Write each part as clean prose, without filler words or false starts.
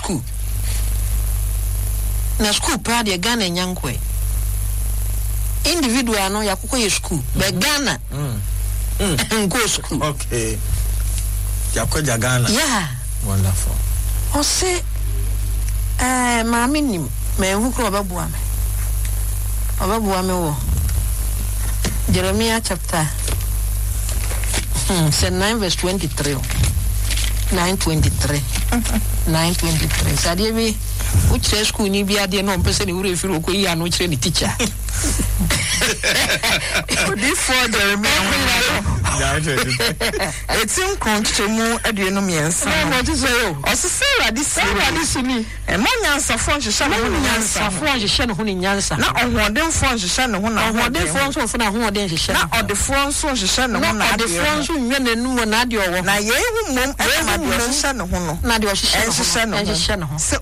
sukuu. Na sukuu paa deɛ Ghana nya nkɔɛ. Individual no yɛakokɔ yɛ sukuu, but Ghana nkɔɔ sukuu. Okay. Yɛakɔgya Ghana. Yeah. Wonderful. Ɔse ɛɛ maame nim manhu koraa ɔbɛboa me. Ɔbɛboa me wɔ Jeremiah chapter sɛ 9 verse 23 o. 9:23. 9:23. Sɛ adeɛ bi wokyerɛ sukuuni bi adeɛ na ɔmpɛ sɛ ne werɛ firi ɔkɔyi ano kyerɛ ne tikya. Odiyifoɔ Jeremia nwoma no, eti nkron nkyekyɛmu 23 no, ɔse, Sɛ Awurade seɛ nie, Mma onyansafoɔ nhyehyɛ ne ho ne nyansa ho, na ɔhoɔdenfoɔ nhyehyɛ ne ho n'ahoɔden ho, na ɔdefoɔ nso nhyehyɛ ne ho n'adeɛ ho, na yei ho mmom na ma deɛ ɔhyehyɛ ne ho no nhyehyɛ ne ho sɛ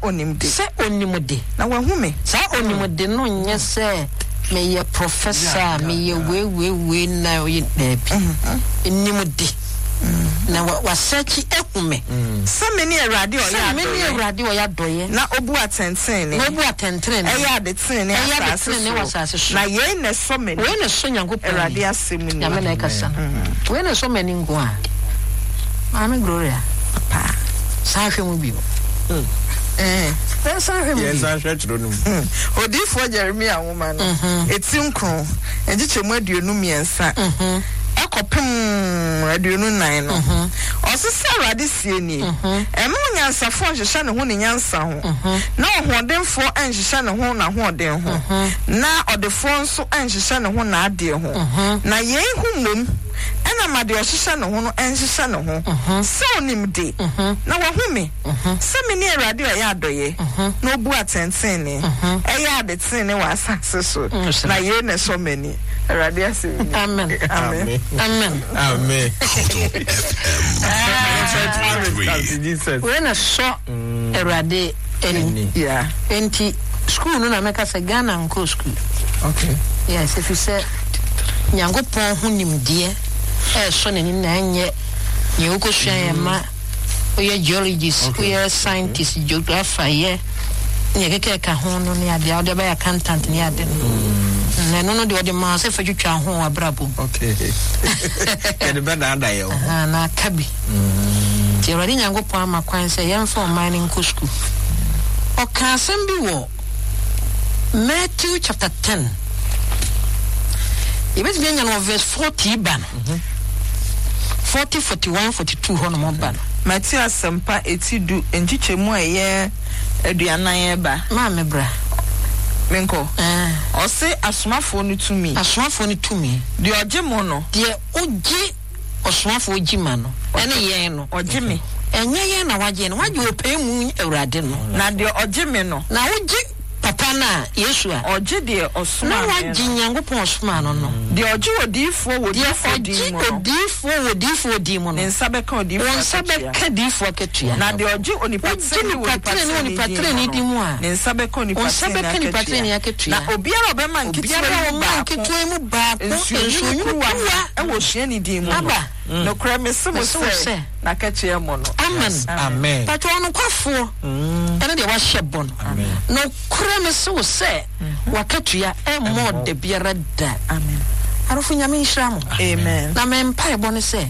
ɔnim de, na wahu me. Saa ɔnim de no nyɛ sɛ meyɛ professor a meyɛ wei wei wei na ɔyɛ daabi. Nim de. Na wasɛkyi ahu me. Sɛ mene Awurade a ɔyɛ Sɛ mene adɔeɛ. Awurade a ɔyɛ adɔeɛ. Na ɔbu atɛntenenee. Na ɔbu atɛntenenee. Ɛyɛ ade tenenee Ɛyɛ ade asase tenenee wɔ asase soɔ. so. Na yei na ɛsɔ m'ani. Wei na ɛsɔ Nyankopɔn ani. Awurade asɛm nie. Nyame na ɛkasa no. Wei na ɛsɔ m'ani nko a. Maame Gloria. Paa. San hwɛ mu bio. Yɛnsan hwɛ mu bio. Yɛnsan hwɛ twerɛ no mu. Odiyifoɔ Jeremia nwoma no, eti nkron, nkyekyɛmu 23 kɔpem 24 no, ɔse, Sɛ Awurade seɛ nie, Mma onyansafoɔ nhyehyɛ ne ho ne nyansa ho, na ɔhoɔdenfoɔ nhyehyɛ ne ho n'ahoɔden ho, na ɔdefoɔ nso nhyehyɛ ne ho n'adeɛ ho, na yei ho mmom na ma deɛ ɔhyehyɛ ne ho no nhyehyɛ ne ho, sɛ ɔnim de, na wahu me, sɛ mene Awurade a ɔyɛ adɔeɛ, na ɔbu atɛntenenee, ɛyɛ ade tenenee wɔ asase so, na yei na ɛsɔ m'ani, Awurade asɛm nie. Amen. Amen. Amen. Amen. Wei na ɛsɔ Awurade ani. Yeah. Enti sukuu no na mɛka sɛ Ghana nkɔɔ sukuu. Okay. Yes, ɛfiri sɛ Nyankopɔn ho nimdeɛ ɛresɔ n'ani na ɛnyɛ nea wokɔsua yɛ ma woyɛ geologist, woyɛ scientist, geographer, yɛ nea ɛkeka ɛka ho no ne adeɛ a wode bɛyɛ accountant ne ade no. Na ɛno no deɛ ɔde maa sɛ fa twitwa ho wɔ abrabɔ mu. Okay. Yɛde bɛdaadaa yɛn ho. Aha, na aka bi. Nti Awurade Nyankopɔn ama kwan sɛ yɛmfa ɔman no nkɔ sukuu. Ɔka asɛm bi wɔ Matthew chapter 10. Yɛbɛtumi anya no wɔ verse 40 ba no. 40, 41, 42 hɔ nom ba no. Mateo Asɛmpa eti du nkyekyɛmu a ɛyɛ 40 ba. Maame bra. Menkɔ. Ɛɛ. Ɔse asomafoɔ no tumi. Asomafoɔ no tumi. Deɛ ɔgye mo no. Deɛ ɔgye ɔsomafoɔ gye ma no, ɛne yɛn no. Ɔgye me. Ɛnyɛ yɛn na wagye yɛn, wagye ɔpɛɛ mu Awurade no. Na deɛ ɔgye me no. Na wogye Papa no a, Yesu a. Ɔgye deɛ ɔsomaa me Na no. wagye Nyankopɔn a ɔsomaa no no. Deɛ ɔgye odiyifoɔ wɔ Deɛ odiyifoɔ din ɔgye mu no. odiyifoɔ wɔ odiyifoɔ din mu no. Ne nsa bɛka odiyifoɔ Wo nsa akatua. bɛka diyifoɔ akatua. Na deɛ ɔgye onipa Wogye tenenee wɔ nipa onipa tenenee wɔ nipa tenenee tenenee din din mu mu no, a. ne nsa bɛka onipa Wo nsa tenenee bɛka nipa akatua. tenenee akatua. Na obiara a ɔbɛma nketewa Obiara yi a mu ɔma baako nketewa yi mu baako nsuonwunu nsuonwunu kuruwa kuruwa wɔ osuani din mu no, aba. Nokorɛ mese mo Mese wo sɛ, sɛ. n'akatua mmɔ no. Amen. Amen. Pakyɛ ɔnokwafoɔ ɛne deɛ wahyɛ bɔ no. Nokorɛ mese wo sɛ, w'akatua ɛmmɔɔ da biara da. Amen. Adɔfo Nyame nhyira mo. Amen. Na me mpaebɔ ne sɛ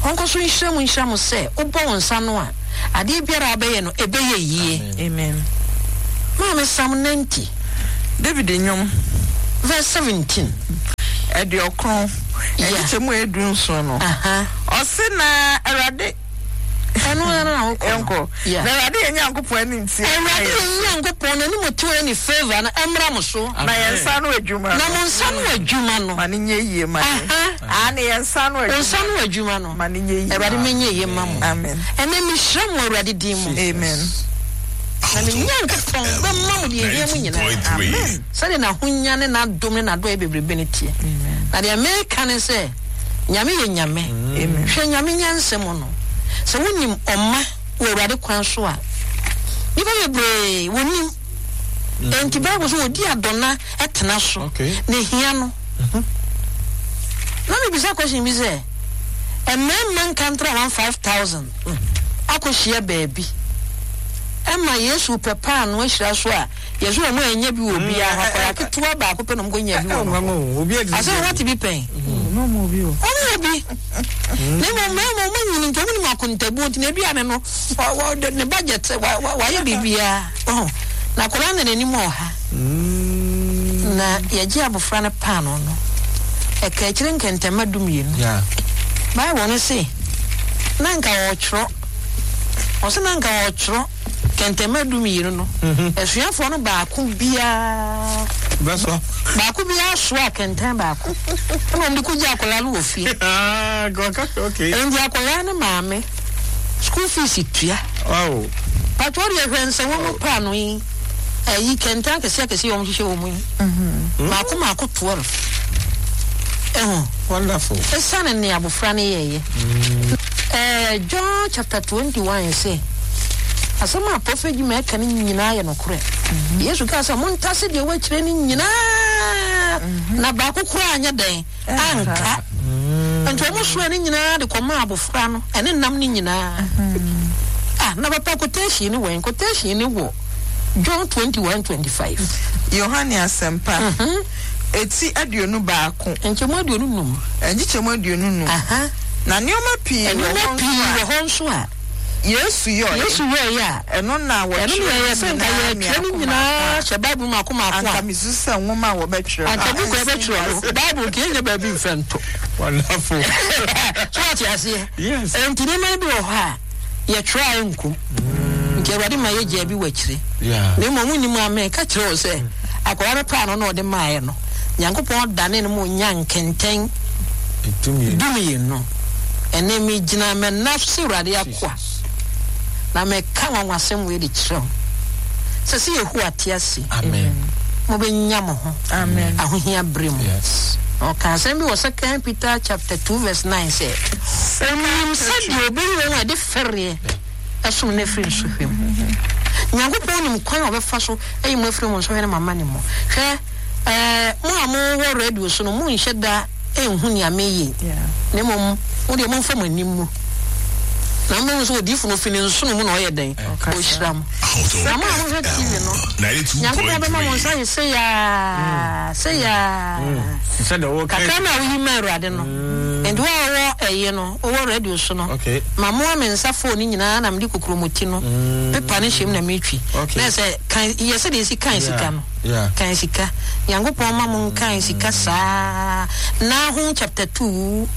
ɔnkɔ so nhyira mo nhyira mo sɛ wobɔ wo nsa ano a adeɛ biara a wobɛyɛ no ɛbɛyɛ yie. Amen. Maame Psalm 90. David nnwom. Verse 17. 90, nkyekyɛmu a ɛyɛ 17 no. Ɔse na Awurade. Ɛno ara na wokɔ no. Yɛnkɔ. Yeah. Na Awurade yɛn Nyankopɔn anim teɛ. Awurade yɛn Nyankopɔn n'anim teɛ ne favour no ɛmmra mo so. Na yɛn nsa ano adwuma no. Na mo nsa ano adwuma no. Ma no nyɛ yie ma yɛn. Aane, yɛn nsa ano adwuma. Wo nsa ano adwuma no. Ma no nyɛ yie. Awurade menyɛ yie ma mo. Amen. Ɛnnɛ mehyira mo wɔ Awurade din mu. Amen. Na me Nyankopɔn bɛma mo deɛ ɛhia mo nyinaa. Amen. Sɛdeɛ n'ahonya ne n'adom ne n'adɔeɛ bebrebe no teɛ. Na deɛ meka ne sɛ, Nyame yɛ Nyame. Hwɛ Nyame nyansa mu no, sɛ wonim ɔma wɔ Awurade kwan so a, nnipa bebree wɔnim. Enti Bible sɛ wɔdi adɔna tena so, na ehia no. Na mebisa question bi sɛ, mmarima nkantra 1 5000 akɔhyia baabi. Ɛma Yesu pɛ paanoo ahyira so a, yɛse wɔn annya bi wɔ obiara hɔ, akwadaa ketewa baako pɛ na wɔn kɔnya bi wɔ no hɔ. Asɛ wɔte bi pɛn? Wɔn wɔ bi. Na mmom mmarima wɔn anyini nti wɔn nim akontabuo nti n'aduane no ne budget wayɛ biribiara. Na akwadaa no na n'anim wɔ ha. Na yɛgye abofra no paanoo no, ɛka akyire nkɛntɛmma dumienu. Bible no se na nka ɔretwerɛ. Ɔse na nka ɔretwerɛ kɛntɛmma dumienu no, asuafoɔ no baako biara Bɛsoa. Baako biara soaa kɛntɛn baako ɛna wɔn de kɔgya akwadaa no wɔ fie. Ah, okay. Nti akwadaa no maame school fees tua. Wow. Patro deɛ hwɛ nsɛnwa mu paano yi ɛyi kɛntɛn akɛseɛ akɛseɛ wɔn hyehyɛ wɔn mu yi. Maako maako 12. Ɛho. Wonderful. Esiane nea abofra no yɛeɛ. Ɛɛ John chapter 21 se, asɛm a Prophet Jimmy ɛka no nyinaa yɛ nokorɛ. Yesu kaa sɛ, montase deɛ wɔakyerɛ no nyinaa, na baako koraa anyɛ dɛn? Anka. Nti wɔn soa no nyinaa de kɔmaa abofra no, ɛne nam no nyinaa. Ah, na papa quotation ne wɛn? Quotation ne wɔ John 21 25. Yohane Asɛmpa, eti 21. Nkyɛmu 25. Nkyekyɛmu 25. Na nneɛma pii wɔ hɔ Nneɛma nso pii a. wɔ hɔ nso a. Yesu yɔeɛ. Yesu yɔeɛ a. Ɛno na Ɛno na wɔtwerɛ ɛyɛ ne sɛ nka nyinaa yɛtwerɛ ne mmiako nyinaa mmaako a. hyɛ Bible mmaako mmaako a. Anka mesusu sɛ nwoma a wɔbɛtwerɛ no. Anka book a yɛbɛtwerɛ no, Bible nka yɛnnya baabi mfa nto. Wonderful. So wate aseɛ? Yes. Enti nneɛma no bi wɔ hɔ a. Yɛtwerɛ a ɛnkom. Nti Awurade ma yɛgyaa bi wɔ akyire. Na mmom wonim a meka kyerɛ wo sɛ akwadaa no paano na ɔde maeɛ no, Nyankopɔn danee no ma ɔnyaa nkɛntɛn dumienu. Ɛnnɛ megyina m'ɛna so sɛ Awurade akoa, na meka nwanwasɛm wei de kyerɛ wo sɛ, sɛ Yehowa te ase yi, mobɛnya mo ho ahohia berɛ mu. Na ɔkaa asɛm bi wɔ Second Peter chapter 2 verse 9 sɛ, Onim sɛdeɛ ɔbɛyi wɔn a ɛde fɛreɛ som no afiri nsɔhwɛ mu. Nyankopɔn nim kwan a ɔbɛfa so ayi mo afiri mo nsɔhwɛ ne mo amane mu. Hwɛ, ɛɛ, mo a mowɔ radio so no, monhyɛ da nhu nea mereyɛ yi, na mmom mo deɛ momfa mo ani mmu, na mobɛhu sɛ odiyifo no fi ne nsono mu na ɔyɛ dɛn? Ɔhyira mo. Na mo a mohwɛ TV no, Nyankopɔn bɛma mo nsa ayɛ sei ara, sei ara. Kakra no a woyi ma Awurade no, Nti wo a wowɔ ɛyi no, wowɔ radio so no, mamoa me nsa phone no nyinaa na mede kokromoti no pepa no hyɛ mu na metwi. Na ɛsɛ kan yɛ sɛdeɛ yɛsi kan sika no. Kan sika. Nyankopɔn ma mo nkan sika saa. Nahum chapter 2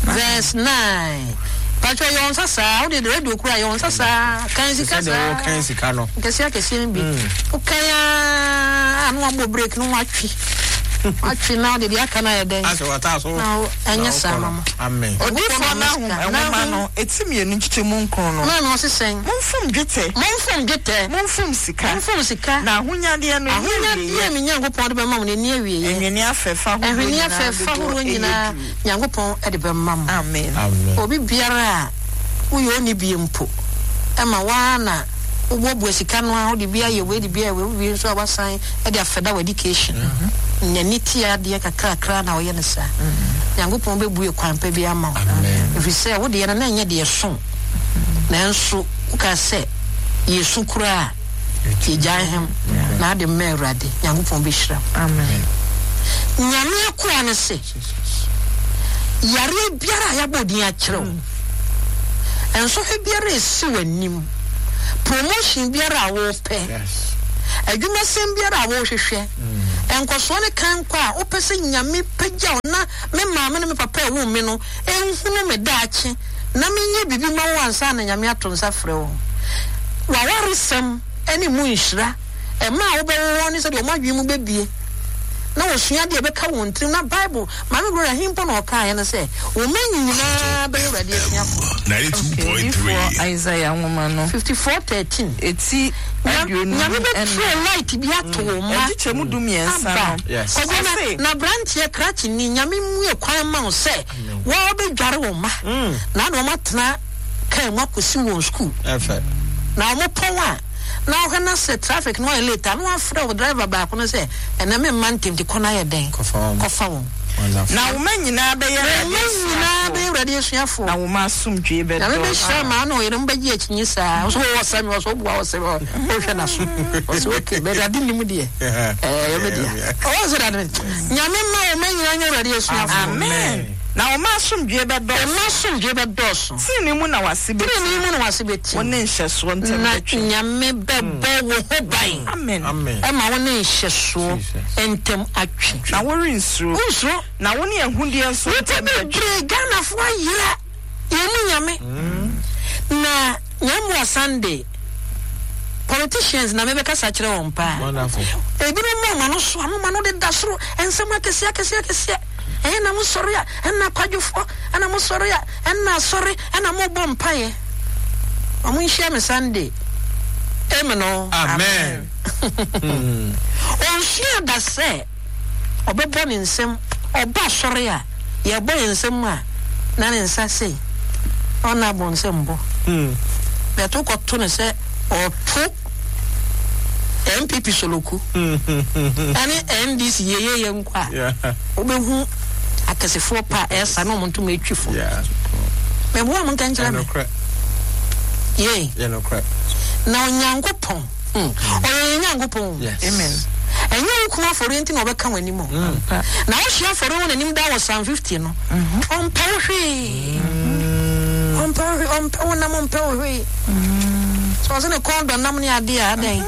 verse 9. Patro yɛ wɔn nsa saa. Wode radio kura yɛ wɔn nsa saa. Kan sika saa. Kan sika no. Nkɛseɛ akɛseɛ no bi. Wokan aa na wabɔ break no watwe. Watwe na wode deɛ aka no ayɛ dɛn? Asɛ wata so. Na ɛnyɛ saa ma mo. Amen. Odiyifoɔ Nahum nwoma no eti mmienu nkyekyɛmu nkron no. Maame ɔse sɛn? Momfom dwetɛ. Momfom dwetɛ. Momfom sika. Momfom sika. Na ahonyadeɛ no ɛnni awieɛ. Ahonyadeɛ a me Nyankopɔn de bɛma mo no ɛnni awieɛ. Ɛnwene afɛfɛ ahodoɔ Ɛnwene nyinaa afɛfɛ dodoɔ ahodoɔ ɛyɛ nyinaa duru. Nyankopɔn de bɛma mo. Amen. Amen. Obi biara a woyɛ onni bie mpo, ɛma wo ara na wobuabua sika no ara, wode bi ayɛ wei de bi ayɛ wei, wowie nso a woasan de afɛda w'education. N'ani te adeɛ kakrakra na ɔyɛ no saa. Nyankopɔn bɛbue kwan pa bi ama wo. Ɛfiri sɛ wo deɛ no na ɛnyɛ deɛ ɛso, nanso wokaa sɛ yɛsu koraa a, yɛgyae hem na ade mma Awurade. Nyankopɔn bɛhyira wo. Nyame akoa no se, Yareɛ biara a yɛabɔ din akyerɛ wo, nsɔhwɛ biara a ɛsi w'anim, promotion biara a wopɛ, adwumasɛm biara a wohwehwɛ, nkɔsoɔ ne kankɔ a wopɛ sɛ Nyame pagya wo na me maame ne me papa a ɛwoo me no nhunu me daakye na menyɛ biribi ma wo ansa na Nyame ato nsa frɛ wo. W'awaresɛm ne mu nhyira, mma a wobɛwo wɔn ne sɛdeɛ wɔn adwene mu bɛbue na wɔsua adeɛ a ɛbɛka wɔn tirim na Bible Maame Gloria he mpo na ɔkaeɛ no sɛ, Wo mma nyinaa bɛyɛ Awurade asuafoɔ. Okay, Odiyifoɔ Isaiah nwoma no. 54:13. Eti 24. Nyame bɛtrɛ light bi ato wo mma. Nkyekyɛmu 13 Aba. no. Yes. Kwadwo na, Ɔse. na aberanteɛ krakyeni, Nyame mmue kwan mma wo sɛ wɔbɛdware wo mma na na wɔatena kaa mu akɔsi wɔn sukuu. Ɛfɛ. Na wɔpɔn a, na wohwɛ na sɛ traffic no ayɛ late a, na wafrɛ wo driver baako no sɛ, ɛnɛ memma ntɛm nti kɔ na yɛ dɛn? Kɔfa wɔn. Kɔfa wɔn. Na wo mma nyinaa bɛyɛ Wo mma nyinaa bɛyɛ Awurade asuafoɔ. Na wo mma asomdwoeɛ bɛdɔɔso. Nyame bɛhyira ma wo ne wo yere mobɛgye akyinye saa. Wo so wowɔ sɛ me, wɔ so woboa wɔ sɛ wohwɛ n'aso. Wɔ so okay, but Awurade nim deɛ. Ɛyɛ me dea. Ɔwɔ sɛ Awurade Nyame mma wo mma nyinaa nyɛ Awurade asuafoɔ. Amen. Na wo mma asomdwoeɛ bɛdɔɔso. Mma asomdwoeɛ bɛdɔɔso. Tenenee mu na w'ase bɛtim. Tenenee mu na w'ase bɛtim. Wo ne nhyɛsoɔ ntam bɛtwe. Na Nyame bɛbɔ wo ho ban. Amen. Ɛma wo ne nhyɛsoɔ ntam atwe. Na worensuro. Wonsuro. Na wo ne ahudeɛ nso Nnipa ntam bɛtwe. bebree, Ghanafoɔ ayera yɛn mu Nyame. Na Nyame Sunday, politicians na mebɛkasa kyerɛ wɔn paa. Wonderful. Ebinom ma wɔn ano so, ano ma no deda soro, nsɛm akɛseɛ akɛseɛ akɛseɛ. Ɛyɛ na mosɔre a, ɛnna akwadwofoɔ, ɛnna mosɔre a, ɛnna asɔre, ɛnna mobɔ mpaeɛ. Wɔn nhyia me Sunday. Amen o. Amen. Ɔnsua da sɛ ɔbɛbɔ ne nsam. Ɔba asɔre a, yɛbɔ yɛn nsam a, na ne nsa sei. Ɔnna abɔ nsam bɔ. Bɛto kɔto no sɛ ɔto NPP soloku ɛne NDC yeyeye nko a, wobɛhu akɛsefoɔ pa a ɛsa na wɔn ntoma atwi fo. Mɛboa mo nka nkyerɛ me. Yei. Na Onyankopɔn, ɔyɛ yɛn Nyankopɔn. Amen. Ɛnyɛ wo kunu afɔreɛ nti na ɔbɛka w'anim o. Na wohye afɔreɛ wɔ n'anim daa wɔ Psalm 50 no, ɔmpɛ wo hwee. Ɔmpɛ wo hwee, ɔmpɛ wo nam, ɔmpɛ wo hwee. Sɛ ɔse ne kɔn dɔ nam ne adeɛ a, adɛn?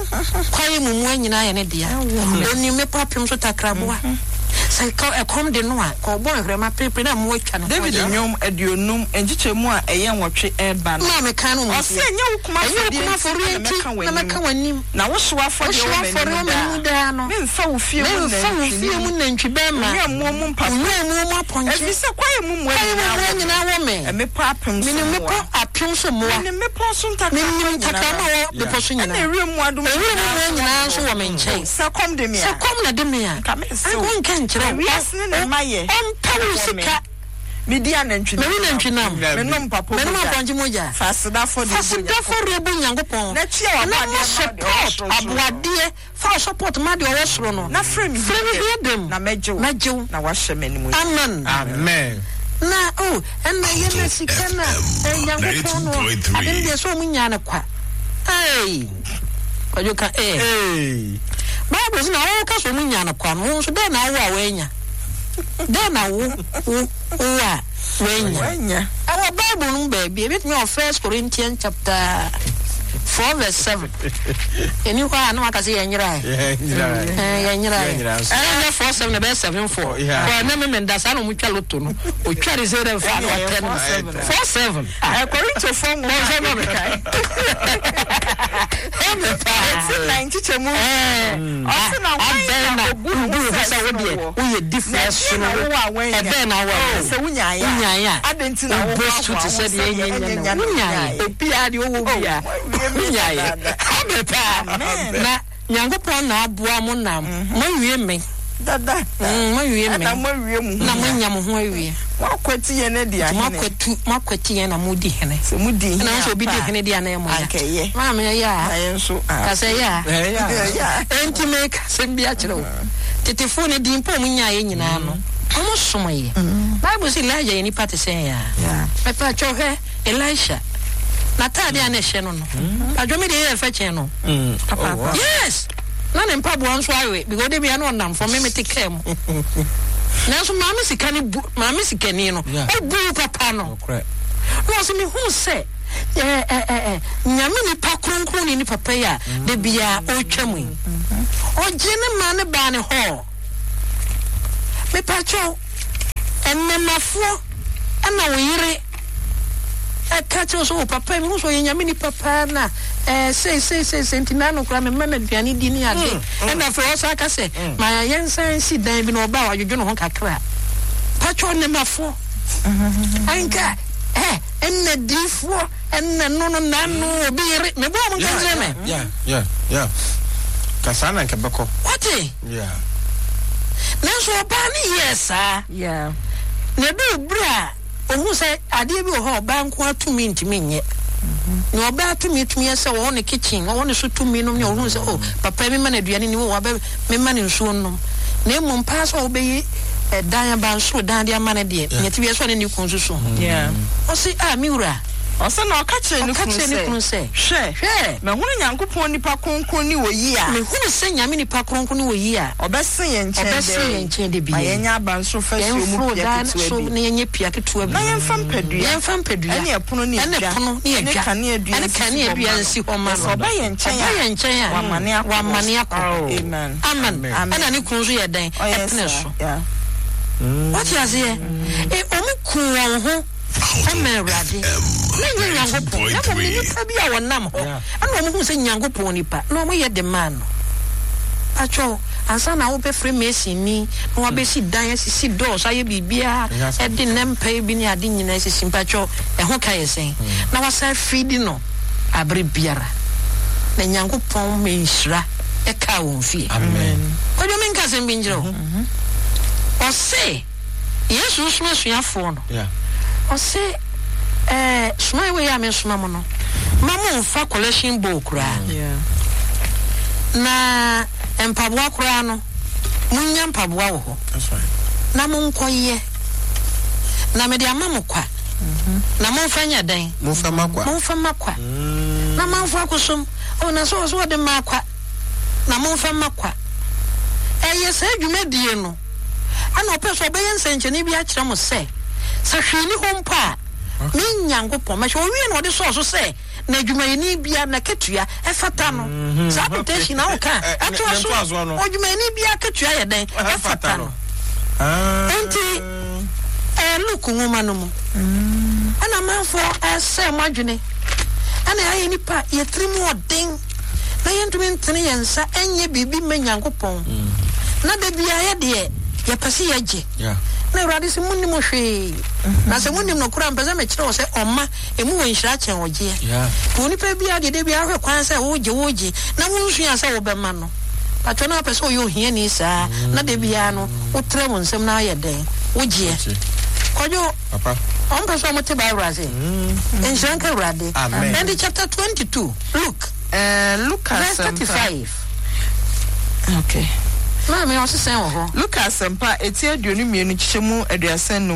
Kwaeɛ mu mmoa nyinaa yɛ ne dea. Ɔnim mmepɔ apem so takraboa. Sɛ ɛkɔm de no a, ka ɔbɔ nhwerɛma perepere na mmoa atwa ne ho David ahyia. Nnwom 50 nkyekyɛmu a ɛyɛ 8 reba no. Na meka no mu Ɔse, Ɛnyɛ wo kum Ɛnyɛ wo afɔdeɛ kum afɔreɛ nti na nti mɛka na mɛka w'anim, w'anim. na wo hyew afɔdeɛ Wo hyew wɔ afɔreɛ wɔ m'anim m'anim daa. daa no. Memfa wo fie mu Memfa wo fie mu nantwinini, nantwi bɛrima, nnwammuo mu mpapo. nnwammuo mu apɔnkye. Ɛfiri sɛ kwaeɛ mu mmoa Kwaeɛ mu nyinaa mmoa wɔ me. nyinaa wɔ me. Mmepɔ apem so Menim mmoa. mmepɔ apem so mmoa. Menim mmepɔ so ntakrama Menim nyinaa. ntakrama a ɛwɔ bepɔ so Ɛna nyinaa. ewiem mmoadoma Ewiem nyinaa mmoa nso nyinaa wɔ nso me wɔ me nkyɛn. Sɛ kɔm de me a. Sɛ kɔm na de me a. Nka mense Anka wo. wonka nkyerɛ wo. Na wiase ne ne mma yɛ. Ɔmpɛ wo Wɔ me. sika. Medi anantwi Mewe nantwi nam. Menom mpapo Menom mogya. apɔnkye mogya. Fa aseda afɔdeɛ Fa bɔ aseda Onyankopɔn. afɔdeɛ bɔ Onyankopɔn. Na tua Na w'aboadeɛ ma ma deɛ ɔwɔ support soro soro no. aboadeɛ. Fa wo support ma deɛ ɔwɔ soro no. Na frɛ me Frɛ me hia dam. Na mɛgye wo. Mɛgye wo. Na woahyɛ me animuonyam. Amen. Amen. Na oh, ɛna yɛ na sika na eh, Nyankopɔn no ade no deɛ sɛ ɔmo nyaa no kwa. Hey, Kwadwo ka eh. Hey. Bible sɛ na wɔka sɛ ɔmo nyaa no kwa no, wo nso dɛn na wo a woanya? Dɛn na wo wo wo a woanya? Woanya. Ɛwɔ Bible no mu baabi, ebetumi wɔ First Corinthians chapter 4 verse 7. Ɛni hɔ a na waka sɛ yɛnyerae. Yɛnyerae. Ɛnyɛ 4 7 na ɛbɛyɛ 7 4. Kɔ ɛnɛ me menda saa na ɔmo twa loto no. Otwa de sɛ dɛ fa na ɔtɛ no. 4 7. Korintofoɔ nwoma Bɔnsɛ ma me. Ɛmɛ paa. Eti na nkyekyɛmu. Ɔse na hwan na obu ne ho sɛ sɛ wo deɛ ɛsono woɔ? woyɛ different Na ɛsono ɛdeɛn na wo wowɔ a woannya? ɛbɛn na wowɔ a Oh, sɛ wonyaeɛ a, wonyaeɛ a adɛn nti na wo wohoahoa boast wo te ho sɛ deɛ sɛdeɛ ɛnyɛ ɛnyɛ nya nya no na wonyaeɛ wonyaeɛ? obiara deɛ ɔwɔ Oh, biara woawie me wonyaeɛ dadaada. abɛ paa Amen. na Nyankopɔn na aboa mo na moawie me Dada. Moawie me Ɛna moawie mo ho na nyinaa. moanya mo ho awie. Moakwati yɛn adi Nti ahene. moakwatu moakwati yɛn na modi hene. Sɛ modi hene Ɛna wo sɛ obi di ampa a, hene deɛ a na ɛyɛ mo ya. anka ɛyɛ. Maame ɛyɛ a. Na yɛn nso a. Ka sɛ ɛyɛ a. Ɛyɛ a. Ɛyɛ a. Enti meka asɛm bi akyerɛ wo. Tetefoɔ no din mpo a wɔnyaeɛ nyinaa no, wɔsomeeɛ. Bible se Elijah yɛ nipa te sɛ yɛn a. Mepatwɔ hwɛ Elisha. N'atadeɛ a na ɛhyɛ no no. Patwɔ me deɛ ɛyɛ fɛ kyɛn no. Yes! Na ne mpaboa nso awe because de bia na ɔnam fam me mete kaa mu. Nanso maame sika ne bu maame sikani no obu papa no. Na ɔsɛ mehu sɛ ɛ ɛ ɛ nyame nipa kronkron ne nipa papa yi a de bia ɔretwa mu yi. Ɔgye ne ma ne baa ne hɔ. Mepakyɛw, nnɛmafoɔ ɛna wo yere ɛka kyerɛ sɛ, o papa yi, mehu sɛ ɔyɛ nyame nipa paa na ɛɛ sei sei sei sei nti n'ano koraa mema no aduane di ne ade. Ɛna afei ɔsan ka sɛ, ma yɛnsan nsi dan bi na ɔba a wadwodwo ne ho kakra. Pakyɛw nnɛmafoɔ, ɛnka ɛ ɛnna diifoɔ ɛnna no no n'ano obi yere mebɔ wɔn nka nkyerɛ me. Yeah, yeah, yeah. Ka saa na nka bɛkɔ. Wate? Yeah. Nanso ɔbaa no yɛɛ saa. Yeah. Na ɛduu bere a ohuu sɛ adeɛ bi wɔ hɔ a ɔbaa nko ara tumi ntumi nyɛ. Nea ɔbaa tumi tumi yɛ sɛ ɔwɔ ne kitchen, ɔwɔ ne so tumi nom ne ɔhuu sɛ oh papa yi mema no aduane ni, oh wabɛ mema no nsuo nnom. Na mmom paa sɛ ɔbɛyi Ɛdan abansoro dan de ama no deɛ, nea ɛte biara sɛ ɔne ne kunu susu ho. Ɔse, Ah, me wura. Ɔse, na ɔka kyerɛɛ ne Ɔka kunu kyerɛɛ ne sɛ, kunu sɛ, Hwɛ, Hwɛ! mahunu Nyankopɔn nipa kronkron ne oyi a. Mehunu sɛ Nyame nipa kronkron ne oyi a. Ɔbɛsen yɛn nkyɛn Ɔbɛsen daa yɛn yi. nkyɛn da Ma biara yi. yɛnyɛ abansoro fasuo mu Yɛmforo pia dan ketewa so bi. na yɛnyɛ pia ketewa bi. Na yɛmfa mpadua. Yɛmfa mpadua. Ɛne ɛpono ne Ɛne edwa. ɛpono ne Ɛne edwa. kaneadua Ɛne nsisi hɔ kaneadua mma no. nsi hɔ mma Na no. sɛ ɔba yɛn nkyɛn Ɔba a, yɛn nkyɛn a, wamane akɔ hɔ. wamane akɔ hɔ. Amen. Amen. Amen. Ɛna ne kunu nso yɛ dɛn? Ɔyɛ Ɛpene saa. so. Yeah. Wate aseɛ? E, ɔmo ku wɔn ho ma Awurade. Na nyɛ Nyankopɔn, na mmom ne nipa bi a wɔnam hɔ. Ɛna ɔmo hu sɛ Nyankopɔn nipa, na ɔmo yɛ de maa no. Pakyɛw, ansa na wobɛfrɛ mason ni, na wabɛsi dan, asisi doors, ayɛ biribiara, ɛde nnɛ mpae bi ne ade nyinaa asisi, mpakyɛw, ɛho ka yɛ sɛn? Na wasan feedi no abere biara. Na Nyankopɔn ma nhyira ɛkaa wɔn fie. Amen. Kwadwo menka asɛm bi nkyerɛ wo. Ɔse Yesu resoma asuafoɔ no, ɔse ɛɛ soma wei a mesoma mo no, ma mo nfa collection bowl koraa, na mpaboa koraa no, monnya mpaboa wɔ hɔ, na monkɔyɛ, na mede ama mo kwa, na momfa nyɛ dɛn? Momfa ma kwa. Momfa ma kwa. Na manfo akosom, oh, na sɛ ɔso ɔde maa kwa. na momfa mma kwa. Ɛyɛ saa dwumadie no na ɔpɛ sɛ ɔbɛyɛ nsɛnkyerɛnne bi akyerɛ mo sɛ, sɛ hwee nni hɔ mpo a, me Nyankopɔn mɛhwɛ. Ɔwie na ɔde sɔɔ so sɛ, na adwumayɛni biara n'akatua ɛfata no. Saa quotation na woka a, ɛtoa so, odwumayɛni biara akatua yɛ dɛn? Ɛfata no. Enti, ɛyɛ Luke nwoma no mu. Ɛna amanfoɔ ɛresɛe mo adwene. Ɛna yɛayɛ nnipa a yɛn tirim ɔden. na yɛntumi ntene yɛn nsa nyɛ biribi mma Nyankopɔn, na da biara yɛ deɛ yɛpɛ sɛ yɛgye. Na Awurade se, Monnim hwee, na sɛ monim nokorɛ a, mepɛ sɛ mekyerɛ wo sɛ ɔma ɛmu wɔ nhyira kyɛn ɔgyeɛ. Nti onipa biara deɛ da biara hwɛ kwan sɛ wogye wogye na wonsuaa sɛ wobɛma no. Patwɔ na wopɛ sɛ ɔyɛ ohiani saa na da biara no wotrɛ wo nsam na ayɛ dɛn? Wogyeɛ. Kwadwo, ɔmpɛ sɛ ɔmo te Bible ase? Nhyira nka Awurade. Ɛnti chapter 22. Luke. Ɛɛ Luka Verse asɛmpa. 35. Okay. Maame ɔse sɛn wɔ hɔ? Luka asɛmpa eti 22 nkyekyɛ mu 35 no,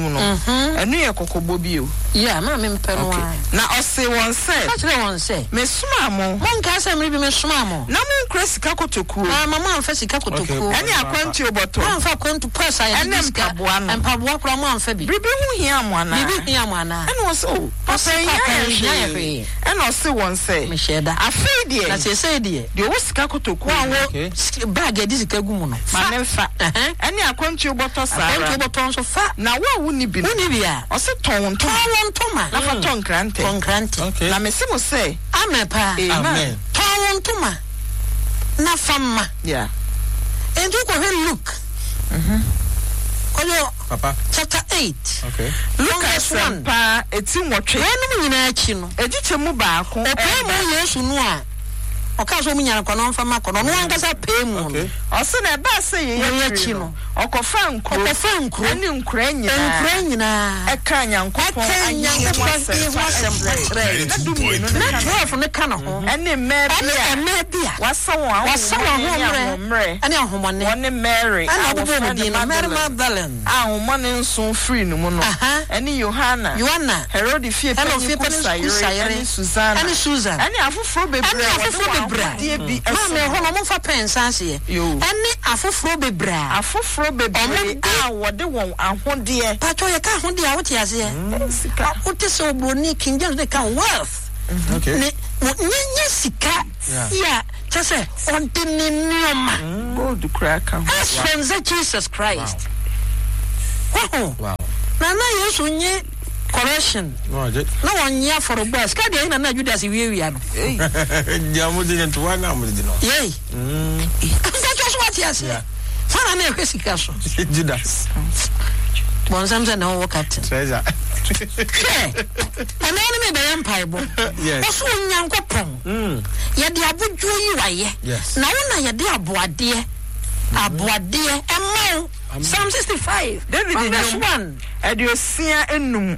ɛno yɛ kɔkɔbɔ bi o. Yeah, maame mpɛ no Okay. ara. Na ɔsee wɔn sɛ. Ɔka kyerɛɛ wɔn sɛ. Mesomaa mo. Monkae sɛ mmere bi mesomaa mo. Na monkura sika kotokuo. Mamma moamfa sika kotokuo. Ɛne akwantuo bɔtɔ. Moamfa akwantu purse a yɛde gye sika. Ɛne mpaboa no. Mpaboa koraa moamfa bi. Biribi ho hia mo anaa? Biribi hia mo anaa? Ɛna wɔse, O, papa, ɛnhia yɛn hwee. Ɛnna ɔsee wɔn sɛ, Mehyɛɛ da. Afei deɛ. Na seesei deɛ. Deɛ ɔwɔ sika kotokuo Wo a no. wowɔ bag a yɛde sika gu mu no, fa. Ma no mfa. Ɛne akwantuo bɔtɔ saa ara. Akwantuo bɔtɔ nso, fa. Na wo a wonni bi no. Wonni bi a. Ɔse, Tɔn wo ntoma. Tɔn wo ntoma. Na fa tɔ nkrantɛ. Tɔ nkrantɛ. Na mese mo sɛ. Amen paa. Amen. Tɔn wo ntoma na fa ma. Yeah. Enti wokɔhwɛ Luke. Kɔdwo. Papa. Chapter 8. Okay. Luka Verse 1. asɛmpa eti nwɔtwe. Weinom nyinaa akyi no. Ekyikyɛ mu baako Ɔpae mu Yesu no a ɔkaa sɛ ɔmu nya no kwa na ɔmfa ma kɔ no, ɔno ankasa pae mu no. Okay. Ɔse na ɛbaa sɛ yei Wei akyiri akyi no, no, ɔkɔfaa nkuro. Ɔkɔfaa nkuro. Ɛne nkuraa nyinaa. Nkuraa nyinaa. Ɛkaa Nyankopɔn Ɛkaa ahennie ho Nyankopɔn ahennie ho asɛmpa asɛmpa kyerɛɛ. kyerɛɛ. Na dummienu no Na ka ne ho. 12 no ka ne ho. Ɛne mmaa bi Ɛne a. mmaa bi a. Wɔasa wɔn Wɔasa wɔn ahonhommɔne ne ahoɔmmerɛ ahoɔmmerɛ. ne ahonhommɔne. Wɔne Mary Ɛna a ɔbobɔɔ wɔfrɛ wɔn no din no, Mary Magdalene. Magdalene. A ahonhommɔne nson firii ne mu no, ɛne Yohana, Yohana, Herode fie ɛna panin ofie panin Kusa Kusa yere, yere, ɛne Susana, ɛne Susan, ɛne afoforɔ bebree ɛne a wɔde afoforɔ wɔn bebree a, ahodeɛ bi maame som ɛhɔ no wɔmfa pɛn nsa aseɛ, Yo. ɛne afoforɔ bebree a, Afoforɔ bebree wɔde, a wɔde wɔn ahodeɛ. Paatwɔ yɛka ahodeɛ a wote aseɛ? Ɛyɛ sika. Wote sɛ oburoni King James de ka wealth, Okay. ne, wɔ, nyɛ, nyɛ sika Yeah. yi a, kyɛ sɛ ɔde ne nneɛma. Gold koraa ka ho. Ɛsɛn sɛ Jesus Christ. Wahu? Wow. Na na Yesu nye correction. Na wɔnye afɔrebɔ a sika deɛ na na Judas wiawia no. Deɛ mo de ntoa na mo de no. Yei. Mpɛtɔ so wate aseɛ. Fana na ɛhwɛ sika so. Judas. Bɔnsam sɛ na ɔwɔ captain. Treasure. Hwɛ, ɛnɛ ne mebɛyɛ mpaebɔ. Yes. Ɔso Onyankopɔn. Yɛde abodwoɔ yi wayɛ. Yes. Na wo na yɛde aboadeɛ aboadeɛ ɛma wo. Psalm 65 David from verse nnwom 1. 65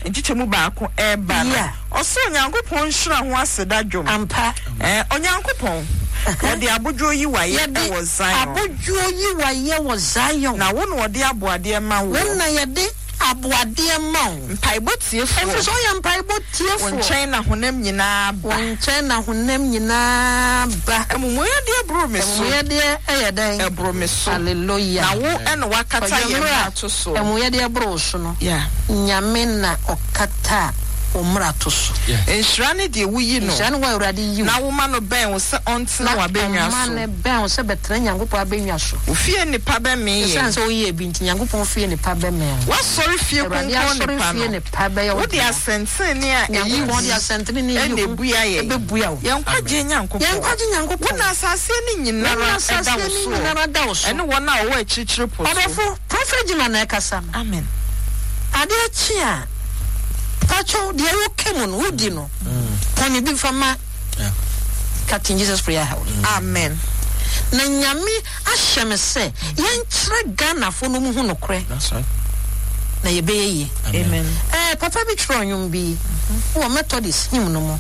nkyekyɛmu baako ɛreba no, Yeah. ɔse Onyankopɔn nhyira ho aseda dwom. Ampa. Ɛɛ, Onyankopɔn, Wɔde abodwoɔ yi wo ayɛ Yɛde wɔ Zion. abodwoɔ yi wo ayɛ wɔ Zion. Na wo na wɔde aboadeɛ ma Wo woɔ. na yɛde aboadeɛ ma wo. Mpaebɔ tiefoɔ. Ɛfiri sɛ woyɛ mpaebɔ tiefoɔ. Wo nkyɛn na honam nyinaa ba. Wo nkyɛn na honam nyinaa ba. Amumuyɛdeɛ boro me so. Amumuyɛdeɛ yɛ dɛn? Ɛboro me so. Hallelujah. Na wo na woakata Kwadwo, yɛn mmerɛ a mmarato soɔ. amumuyɛdeɛ boro wo so no, Yeah. Nyame na ɔkata wo mmarato so. Nhyira ne deɛ woyi no. Nhyira ne wo a Awurade yi wo. Na woma no bɛn wo sɛ ɔntena Na w'abannwa ɔma so. no bɛn wo sɛ bɛtena Nyankopɔn abannwa so. Wo fie nnepa bɛmee Esiane yɛn. sɛ woyɛɛ bi nti, Nyankopɔn fie nnepa bɛmee wo. W'asɔre fie Awurade kronkron asɔre nnepa fie no. nnepa bɛyɛ wo Wode dea. asɛntenenee a ɛyi hu Nyankopɔn de asɛntenenee a na ɛyi hu ebua yɛn. bɛbua wo. Yɛn nkwagyeɛ Nyankopɔn. Yɛn nkwagye Nyankopɔn. Wo na asase ani Wo na nyinara da asase wo ani soɔ. nyinara da wo so. Ɛne wɔn a wɔwɔ akyirikyiri po so. Ɔdɔfo, Prophet Jima na ɛkasa no. Amen. Adeɛ kye a, pakyɛw deɛ woka mu no, wodi no, pɔne bi fa ma Captain Jesus Prayer House. Amen. Na Nyame ahyɛ me sɛ yɛnkyerɛ Ghanafoɔ no ɔmo hu nokorɛ. That's right. Na yɛbɛyɛ yie. Amen. Eh, papa bi twerɛ nnwom bi wɔ Methodist hymn no mu,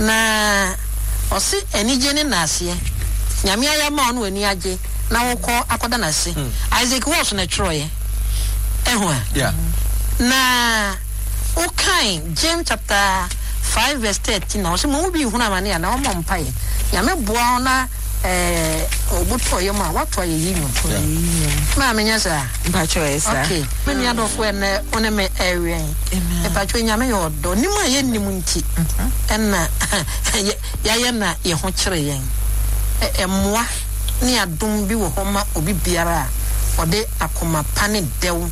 na ɔse anigye ne naaseɛ, Nyame ayɛ ama wo na w'ani agye na wokɔ akɔda n'ase. Isaac Walsh na ɛtwerɛeɛ. Ɛho a? Yeah. Na wokan James chapter 5 verse 13 a, ɔse mo mu bi nhunu amane a na ɔmmɔ mpaeɛ. Nyame boa wo na eh, obu tɔ yam a, woato ayɛyi nnwom. Maame nyɛ saa? Mpakyɛw ɛyɛ saa. Okay. Me nua dɔfo ɛnɛ wo ne me ɛwɛn. Mpakyɛw Nyame yɛ ɔdɔ. Nim a yɛnnim nti ɛna yɛayɛ na yɛ ho kyere yɛn. Mmoa ne adom bi wɔ hɔ ma obi biara a ɔde akoma pa ne dɛw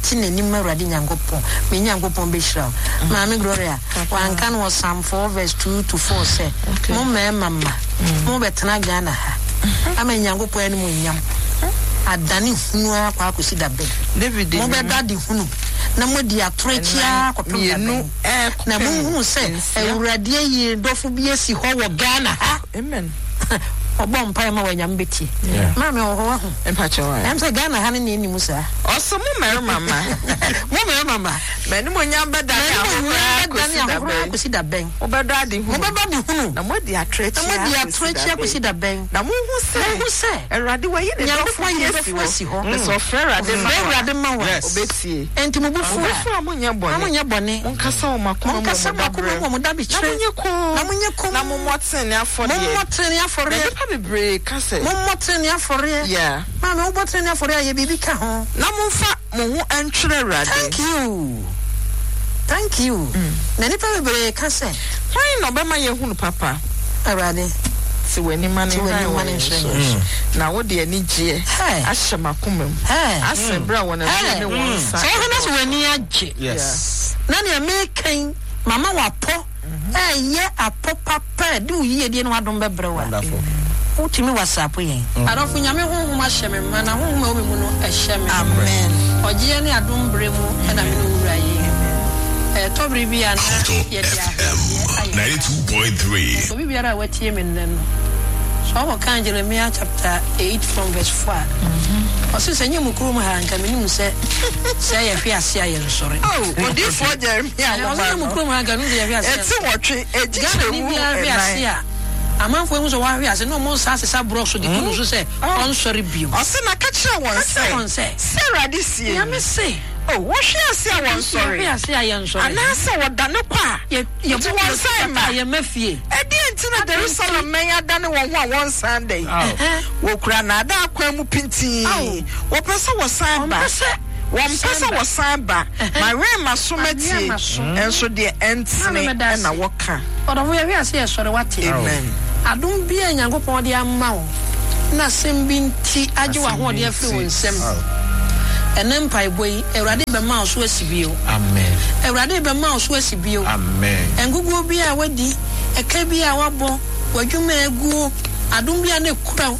te n'anim ma Awurade Nyankopɔn. Me Nyankopɔn bɛhyira wo. Maame Gloria, wanka no wɔ Psalm 4 verse 2 to 4 sɛ, mo mmarima mma, mo bɛtena Ghana ha ama Nyankopɔn animuonyam adane hunu ara kɔ akɔsi da bɛn? David Mo bɛda ade hunu na moadi atoro akyi ara kɔpem da bɛn? Na monhunu sɛ Awurade ayi ne dɔfo bi asi hɔ wɔ Ghana ha. Amen. Ɔbɔ mpae ma wɔ Nyame bɛtie. Maame ɔwɔ hɔ wahu. Mpakyɛw ae. Ɛm sɛ Ghana ha no na ɛnni mu saa. Ɔse mo mmarima mma. Mo mmarima mma. M'animuonyam bɛdane ahohora akɔsi da bɛn? M'animuonyam bɛdane ahohora akɔsi da bɛn? Mobɛdɔ ade hunu. Mobɛdɔ ade hunu. Na moadi atorɔ Na moadi atorɔ akyi akɔsi da bɛn? Na monhu sɛ. Monhu sɛ. Awurade wayi ne dɔfo Nyankopɔn ayi ne bi asi dɔfo asi hɔ. hɔ. Na sɛ ɔfrɛ Awurade ma Ɔfrɛ wo a. Awurade ma wo a. Yes. Ɔbɛtie. Enti mo bo fu a. Mo bo fu a monyɛ bɔne. Na monyɛ bɔne. Monkasa wɔ mo akoma mu wɔ mo Monkasa mo akoma mu wɔ mo daberɛ. dabekyerɛ. Na monyɛ komm. Na monyɛ komm. Na mommɔ tenenee afɔdeɛ. Mommɔ tenenee afɔreɛ. Na nnipa bebree ka sɛ. Mommɔ tenenee afɔreɛ. Yeah. Maame, wobɔ tenenee afɔreɛ a, yɛ biribi ka ho. Na momfa mo ho ntwere Awurade. Thank you. Thank you. Na nnipa bebree ka sɛ. Hwan na ɔbɛma yɛahunu papa? Awurade. Te w'ani ma no Te w'ani nhran ma wɔ no yɛn nhyerɛn so. yɛn so. Na wode anigyeɛ Hey. ahyɛ m'akoma mu Hey. asen berɛ a wɔn abuo Hey. ne wɔn nsa Sɛ wohwɛ na sɛ w'ani agye. Yes. Na nea meka yi, mama w'apɔ ɛyɛ apɔ papa a ɛde wo yiedie ne w'adom bɛbrɛ wo a, Wonderful. wotumi WhatsApp yɛn. Adɔfo, Nyame honhom ahyɛ me ma, na honhom a ɛwɔ me mu no ɛhyɛ me. Amen. Ɔgyeɛ ne adom berɛ mu na me ne wo wura yi. Ɛtɔ bere bi a na Alto yɛde FM ahweneɛ ayɛ papa. 92.3. Obi biara a watie me nnɛ no, sɛ ɔkɔkan Jeremiah chapter 8 from verse 4 a, ɔse sɛ nyɛ mo kurom ha a, nka menim sɛ sɛ yɛhwe ase a yɛnsɔre. Oh, odiyifoɔ Jeremia Ɔse nwoma nyɛ mo no, kurom ha nka menim sɛ yɛhwe ase a ɛte yɛnsɔre. nwɔtwe, ɛgye Ghana ni kyerɛmu biara hwe ase ɛnan. a, amanfoɔ ahu sɛ wahwe ase na ɔmo nsa asesa borɔ so de gu no so sɛ ɔnsɔre bio. Ɔse na ka kyerɛ wɔn Ka kyerɛ sɛ, wɔn sɛ, Sɛ Awurade seɛ nie. Nyame se. O, wɔhwe ase a wɔnsɔre. Yɛhwe ase a yɛnsɔre. Anaasɛ wɔdane kɔ a, Yɛ, nti yɛbɔ wɔnsan mma. a yɛmma fie. Ɛdeɛn nti na Jerusalem mmɛn adane wɔn ho a wɔnsan da yi? Wɔkura nnaadaa kwan mu pintinn. Wɔpɛ sɛ wɔsan ba. Wɔmpɛ sɛ Wɔmpɛ sɛ wɔsan ba. Mawɛn m'aso matie, nso deɛ ɛntene na wɔka. Ɔdɔfo yɛhwe ase yɛsɔre wate. Amen. Adom bi a Nyankopɔn de ama wo na asɛm bi nti agye w'ahoɔden afiri wo nsam. Ɛnɛ mpaebɔ yi, Awurade bɛma wo so asi bio. Amen. Awurade bɛma wo so asi bio. Amen. Nkukuo bi a wadi, ɛka bi a wabɔ, w'adwuma a aguo, adom bi a na ekura wo,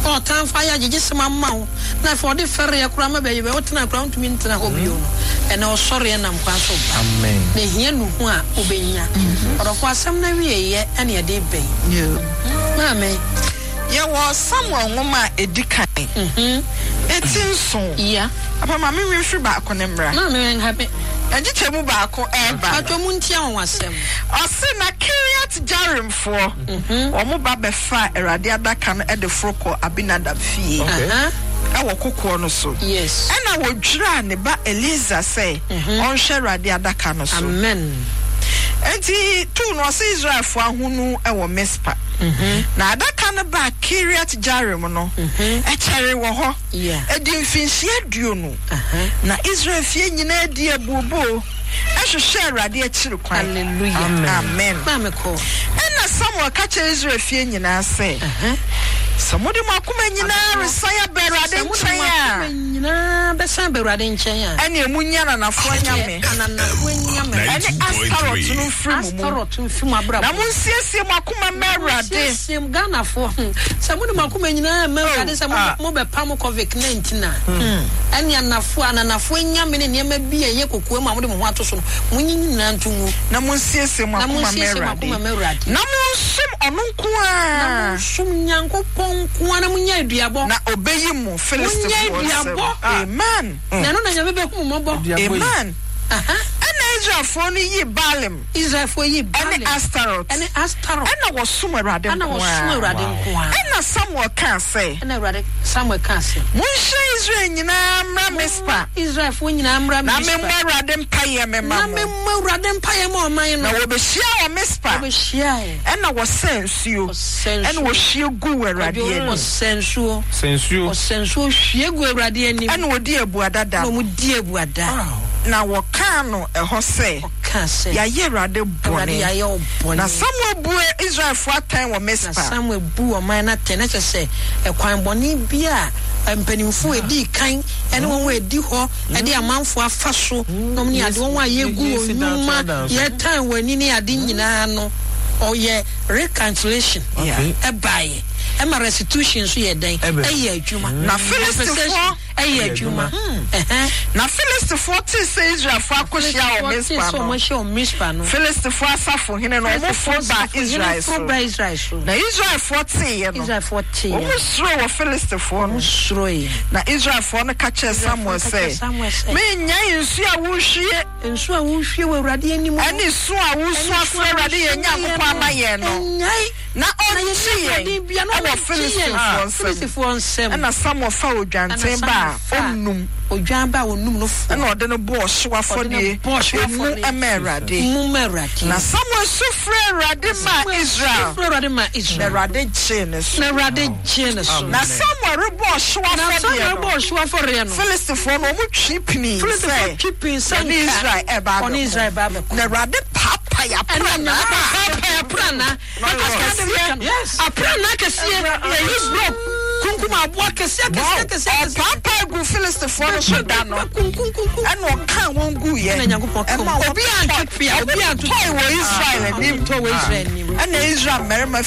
na ɔtamfo ayɛ agyegyesɛm ama wo, na afei ɔde fɛreɛ koraa ma bɛyɛ bɛ wotena koraa wontumi ntena hɔ bio no, ɛnɛ ɔsɔreɛ nam kwan so ba. Amen. Na ehia nuhu a wobɛnya. Ɔdɔfo asɛm no awieeɛ ɛne ɛde reba yi. Maame. Yɛwɔ Samuel nwoma a edi kan, eti nson. Yeah. Papa ma me nwi mfiri baako no mmra. Maame nha me. Nkyekyɛmu baako reba. Mpakyɛw montie anwanwasɛm. Ɔse, Na Kiriat-Jearimfoɔ, wɔn ba bɛfaa Awurade adaka no de foro kɔɔ Abinadab fie wɔ kokoɔ no so. Ɛnna wɔdwiraa ne ba Eleasar sɛ ɔnhwɛ Awurade adaka no so. Amen. Enti tuu no, ɔse Israelfoɔ ahonu wɔ Mispa. Na adaka no baa Kiriat-Jearim no, ɛkyɛree wɔ hɔ. Ɛdii mfinhyia 20. Na Israel fie nyinaa dii abooboo hwehwɛɛ Awurade akyiri kwan. Hallelujah. Amen. Maame kɔ. Ɛnna Samuel ka kyerɛɛ Israel fie nyinaa sɛ, Sɛ mode mo akoma nyinaa resan aba Awurade Sɛ mode mo nkyɛn a, akoma nyinaa bɛsan aba Awurade nkyɛn a, ɛnneɛ monyi ananafoɔ anyame ananafoɔ anyame ɛne Astarot no mfiri mo mu, Astarot mfiri mo abrabɔ na mu. monsiesie mo akoma mma Awurade. Monsiesie mo, Ghanafoɔ, sɛ mode mo akoma nyinaa ma Awurade sɛ mo mobɛpam Covid 19 a, ɛne anafoɔ, ananafoɔ anyame ne nneɛma bi a ɛyɛ kokoam a mode mo ho ato so no, monyi ne nyinaa nto ngu. Na monsiesie mo Na akoma mma monsiesie mo Awurade, akoma mma Awurade. na monsom ɔno nko Na ara. monsom Nyankopɔn nko ara, na monyɛ aduabɔ. Na ɔbɛyi mo Monyɛ Filistifoɔ nsam. aduabɔ. Amen. Na ɛno na Nyame bɛhu mo mmɔbɔ. Aduabɔ yi. Amen. Aha. Ɛnna Israelfoɔ no yii Baalim. Israelfoɔ yii Ɛne Baalim. Astarot. Ɛne Astarot. Ɛnna wɔsom Awurade Ɛnna nko wɔsom ara. Awurade nko ara. Ɛnna Samuel kaa sɛ. Ɛnna Awurade, Samuel kaa sɛ. Monhyia Israel nyinaa mmra Mispa. Momma Israelfoɔ nyinaa mmra Na Mispa. memmɔ Awurade mpaeɛ memma Na mo. memmɔ Awurade mpaeɛ mma ɔman no. Na wɔbɛhyiaa wɔ Mispa. Wɔbɛhyiaeɛ. Ɛnna wɔsaa nsuo. Wɔsaa nsuo. Ɛnna wɔhwie guu Awurade Kwadwo, anim. wɔsaa nsuo. Sɛ nsuo. Wɔsaa nsuo hwie guu Awurade anim. Ɛnna wɔdii abuada da Ɛnna no. wɔdii abuada. Na wɔkaa no ɛhɔ sɛ. Ɔkaa sɛ. Yɛayɛ Awurade bɔne. Awurade, yɛayɛ wo bɔne. Na Samuel buu Israelfoɔ atɛn wɔ Mispa. Na Samuel buu ɔman no atɛn, na kyerɛ sɛ, ɛkwan bɔne bi a mpanimfoɔ a ɛdii kan ne wɔn a ɛdi hɔ de amanfoɔ afa so nom ne ade, wɔn a yɛgu wɔn nnwuma, yɛtan wɔn ani ne ade nyinaa no, ɔyɛ reconciliation ɛbaeɛ. Ɛma restitution nso yɛ dɛn? Ɛyɛ adwuma. Na Filistifoɔ. Ɛyɛ adwuma. Ɛhɛn. Na Filistifoɔ tee sɛ Israelfoɔ akɔhyia wɔ Filistifoɔ tee Mispa sɛ no, wɔahyia wɔ Mispa no, Filistifoɔ asafohene no, Filistifoɔ wɔforo baa asafohene Israel foro so. baa Israel so. Na Israelfoɔ teeɛ no, Israelfoɔ teeɛ no, wɔsuroe wɔ Filistifoɔ no. wɔsuroeɛ. Na Israelfoɔ no ka kyerɛɛ Samuel Israelfoɔ ka kyerɛɛ sɛ, Samuel sɛ, Mennyae nsuo a worehwie Nsuo a worehwie wɔ Awurade anim no, ne su a woresu ɛne su afrɛ a Awurade woresu yɛn ma yɛn Nyankopɔn no, ama yɛn no, nnyae. na Na ɔngye yɛnni yɛn ahoɔden biara na wɔ ɔbɛgye yɛn Filistifoɔ nsam. Filistifoɔ nsam. Ɛnna Samuel faa Ɛnna odwanten ba Samuel a faa ɔnnum, odwan ba a ɔnum no foɔ, ɛnna ɔde no bɔɔ ɔhyew ɔde no afɔdeɛ bɔɔ ɔhyew emu afɔdeɛ maa Awurade. mu maa Awurade. Na Samuel su frɛɛ Awurade Na maa Samuel su Israel, frɛɛ Awurade maa na Israel, Awurade gyee ne so. na Awurade gyee ne so. Na Samuel rebɔ ɔhyew Na afɔdeɛ Samuel no, rebɔ ɔhyew afɔreɛ no, Filistifoɔ no, wɔtwe pinii Filistifoɔ sɛ twe pinii sɛ wɔne anka Israel reba wɔne abɛko. Israel reba abɛko. Na Awurade paapaee Ɛnna aprannaa. Nyankopɔn paapaee aprannaa. Akɛseɛ. Aprannaa kɛseɛ. Ɛyi brɔ kunkum aboa kɛseɛ kɛseɛ kɛseɛ kɛseɛ. Ɔpaapae guu Filistifoɔ no so da no, Kunkunkunkunkum. ɛnna ɔkaa wɔn guiɛ. Ɛnna Nyankopɔn kaa Ɛma wɔn. Obiara antwe pea, obiara anto wɔtɔe wɔ Israel anim. Wɔtɔe wɔ Israel anim. Ɛnna Israel mmarima